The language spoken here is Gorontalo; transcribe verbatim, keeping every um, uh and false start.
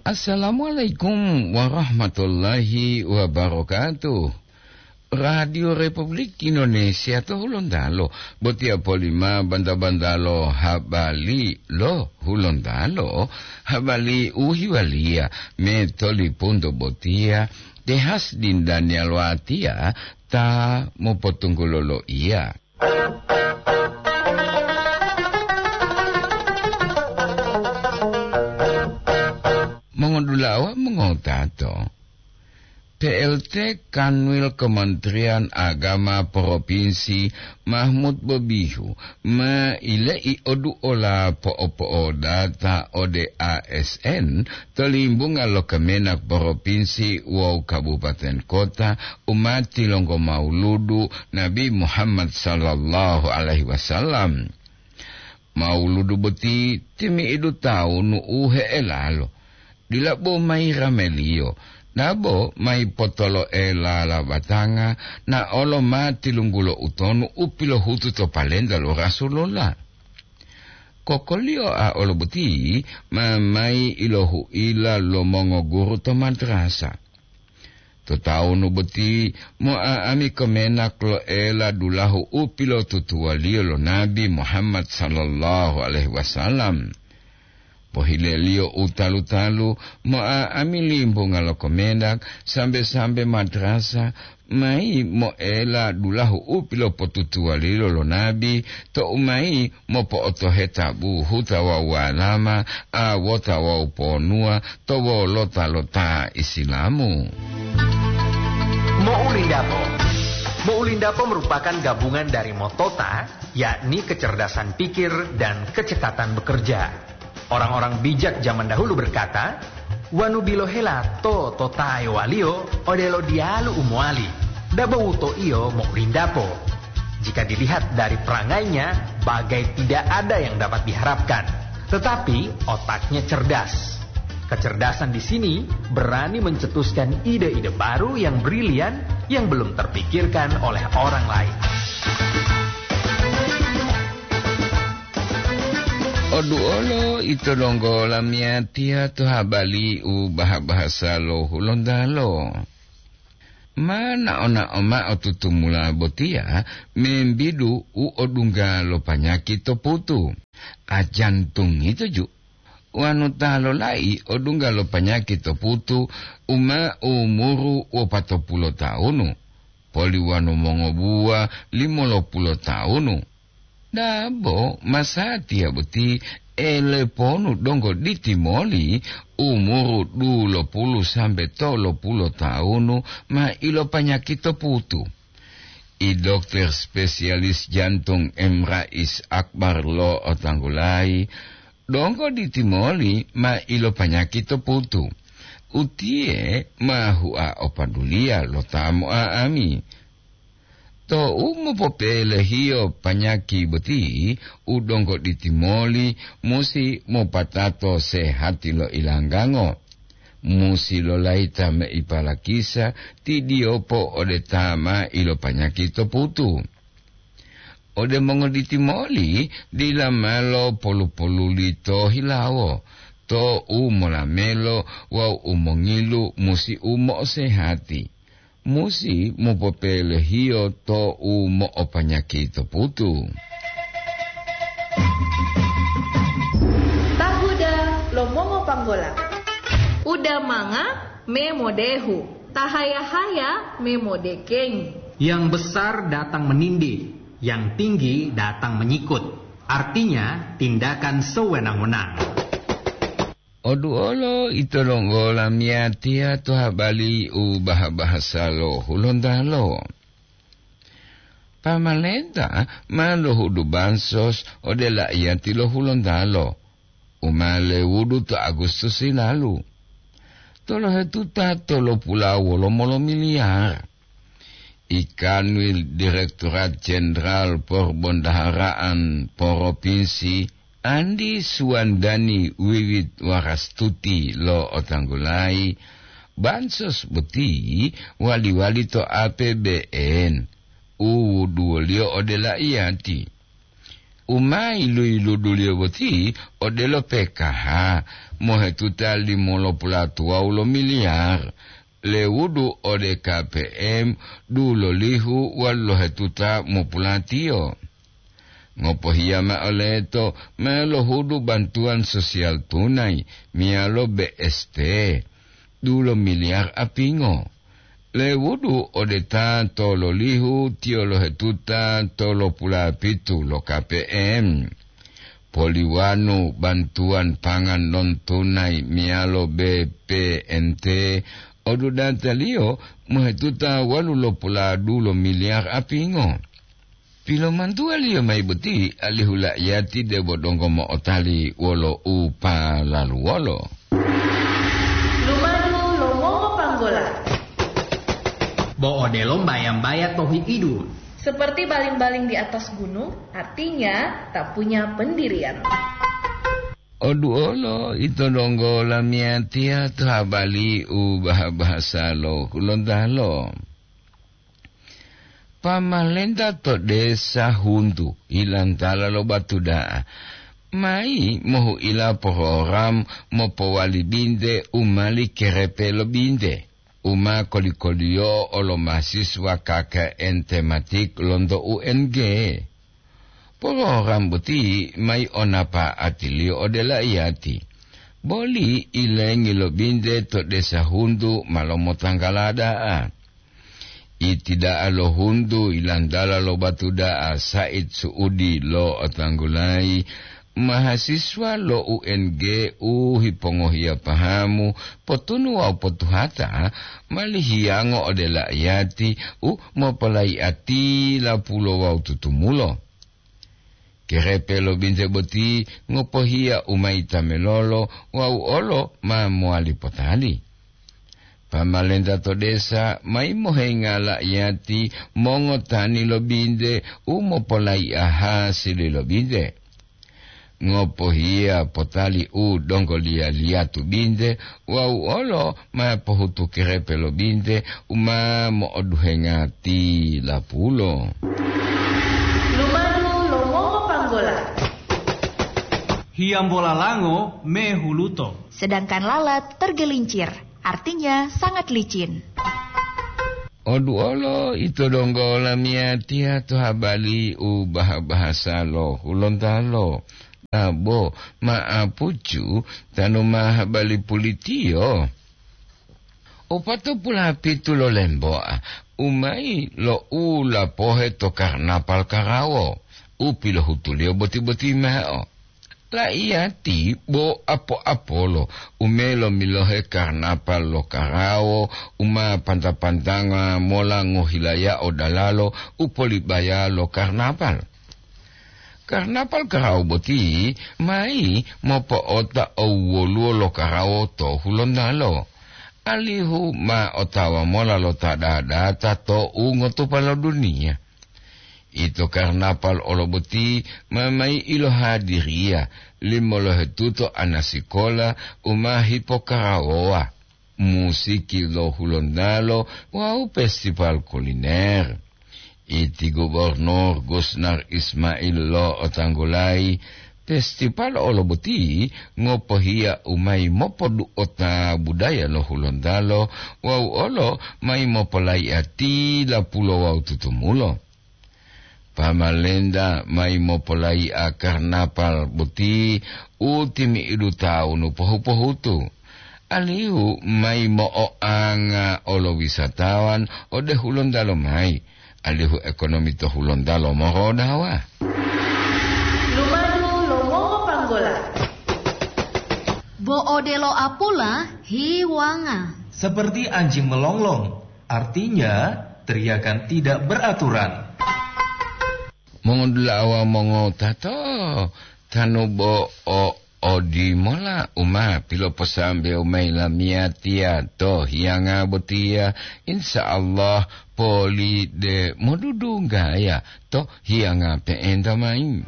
Assalamualaikum warahmatullahi wabarakatuh. Radio Republik Indonesia to Hulontalo, botiya polima banta-bantalo habari lo Hulontalo, habari u hiwaliya me tolipunto botiya, tehas dindaniya lo atiya ta mopotunggulo lo iya. Mongodulawa mongotato, P L T Kanwil Kementerian Agama Provinsi Mahmud Bobihu ma ilei oduola po'opo'odata ode A S N to limbunga lo Kemenak Provinsi wawu Kabupaten Kota u ma tilonggo mauludu Nabi Muhammad sallallahu alaihi wasallam. Mauludu boti timi'idu tawunu u he'elalo, dila bo mayi rameliyo, dabo mayi potolo'ela labatanga, na olo ma tilunggulo utonu u pilohutu to palenta lo Rasulullah. Kokoliyo a olo boti ma mayi ilohu'ila lo mongoguru to madrasa. To tawunu boti, mo'a'ami Kemenak lo'ela dulahu u pilotutuwaliyo lo Nabi Muhammad sallallahu alaihi wasallam. Pohileliyo u talu-talu, mo'a'ami limbunga lo Kemenak sambe-sambe madrasa mayi mo'ela dulahu u pilopotutuwaliyo lo Nabi, to'u mayi mopo'otoheta buhuta wawu walama, awota wawu ponuwa to wolota lo ta Isilamu. Mo'ulindapo. Mo'ulindapo merupakan gabungan dari motota, yakni kecerdasan pikir dan kecepatan bekerja. Orang-orang bijak zaman dahulu berkata, "Wanu bilohela to totaewaliyo odelo diyalu u mowali, dabo wutoiyo mo'ulindapo." Jika dilihat dari perangainya, bagai tidak ada yang dapat diharapkan. Tetapi otaknya cerdas. Kecerdasan di sini berani mencetuskan ide-ide baru yang brilian yang belum terpikirkan oleh orang lain. Oduolo ito donggo lamiyatiya to habari u baha-bahasa lo Hulontalo. Ma nao-nao mao tutumula botiya membidu u odungga lo panyaki to putu. A jantung ito ju. Wanu ta lolai odungga lo panyaki to putu u ma umuru wopatopulo taunu, poli wanu mongobuwa limolopulo taunu. Dabo masatiya boti eleponu donggo ditimoli umuru dulopulu sambe tolopulo taunu ma ilopanyaki to putu. I dokter spesialis jantung M Rais Akbar lo otanggulayi, donggo ditimoli ma ilopanyaki to putu. Utiye ma hua opaduliya lo ta mo'a'ami. Tou mopopelehiyo panyaki boti, u donggo ditimoli musi mopatato sehati lo ilanggango. Musi lolayita meipa lakisa tidiyopo ode ta ma ilopanyaki to putu. Ode mongoditimoli dila malo polu-poluli to hilawo, to u molamelo wawu u mongilu musi u mo'osehati. Musi mopopelehiyo to u mo'opanyaki to putu. Tahuda lo mongopanggola. Uda manga me modehu, tahaya-haya me modekengi. Yang besar datang menindih, yang tinggi datang menyikut. Artinya, tindakan sewenang-wenang. Oduolo ito donggo lamiyatiya to habari u baha-bahasa lo Hulontalo. Pamalenta ma lohudu bansos ode la'iyati lo Hulontalo, u ma lewudu to Agustus hilalu. Tolohetuta tolopula wolomo lo miliyar. I Kanwil Direktorat Jenderal Porbondaharaan Poropinsi, Andi Suwandani Wiwit Warastuti lo otanggulayi, bansos boti wali-wali to A P B N u wuduwoliyo ode la'iyati. U ma yilu-yiluduliyo boti odelo P K H, mohetuta limolopulatuwawu lo miliyar, lewudu ode K P M dulolihu walu lohetuta mopulatiyo. Ngopohiya ma'o leto ma lohudu bantuwan sosial tunai meyalo B S T, dulo miliyar apingo. Lewudu ode ta tololihu tiyo lohetuta tolopulapitu lo K P M. Poliwanu bantuwan pangan non tunai meyalo B P N T, odudataliyo mohetuta walu lopuladu lo miliyar apingo. Pilomantuwaliyo mayi boti alihu la'iyati debo donggo mo'otali wolo u palaluwolo. Lumadu lo mongopanggola. Bo odelo mbaya-mbaya to hi'idu. Seperti baling-baling di atas gunung, artinya tak punya pendirian. Oduolo ito donggo lamiyatiya to habali u baha-bahasa lo Hulontalo. Pamalenta to desa Huntu, hilantala lo Batuda'a, mayi mohu'ila program mopowali binte u mali kerepe lo binte, u ma koli-koliyo olo mahasiswa K K N tematik lonto U N G. Program boti mayi o napa'atiliyo ode la'iyati, boli ilengi lo binte to desa Huntu ma lomotanggala da'a. Iti da'a lo Huntu ilantala lo Batuda'a Said Suudi lo otanggulayi, mahasiswa lo U N G u hipongohiya pahamu, potunu wawu potuhata, mali hiyango ode la'iyati u mopolayi'ati lapulo wawu tutumulo. Kerepe lo binte boti ngopohiya u mayi tamelolo wawu olo ma mowali potali. Pamalenta to desa mayi mohenga la'iyati mongotani lo binte u mopolayi'a hasili lo binte. Ngopohiya potali u donggoliya-liyatu binte wawu olo ma pohutu kerepe lo binte u ma mo'oduhenga tilapulo. Lumadu lo mongopanggola. Hiyambola lango mehuluto. Sedangkan lalat tergelincir, artinya sangat licin. Oduolo ito donggo lamiyatiya to habali u baha-bahasa lo Hulontalo. Abo ma'apucu tanu ma habali pulitiyo. Opatopulapitu lo lemboa, u mayi lo u lapohe to karnapal karawo, u pilohutuliyo boti-boti mao. La'iyati bo apo-apolo u melo milohe karnapal lo karawo u ma panta-pantanga mola ngohilayao dalalo u polibaya lo karnapal. Karnapal karawo boti mayi mopo'ota owoluwo lo karawo to Hulontalo, alihu ma otawa mola lo ta dadata to ungotupa lo duniya. Ito karnapal olo boti ma mayi ilohadiriya limolohetuto anasikola u ma hipokarawowa, musiki lo Hulontalo wawu festival kuliner. Iti Gubernur Gusnar Ismail lo otanggulayi, festival olo boti ngopohiya u mayi mopodu'ota budaya lo Hulontalo wawu olo mayi mopolayi'a tilapulo wawu tutumulo. Pamalenta mayi mopolayi'a karnapal boti u timi'idu tawunu pohu-pohutu, alihu mayi mo'oanga olo wisatawan ode Hulontalo mayi, alihu ekonomi to Hulontalo morodawa. Lumadu lo mongopanggola. Bo odelo apula hiwanga. Seperti anjing melonglong, artinya teriakan tidak beraturan. Mongodula'a wawu mongotato, tanu bo o odimola u ma piloposambewo mayi lamiyatiya to hiyanga botiya, insya Allah poli de modudunggaya to hiyanga pe'enta mayi.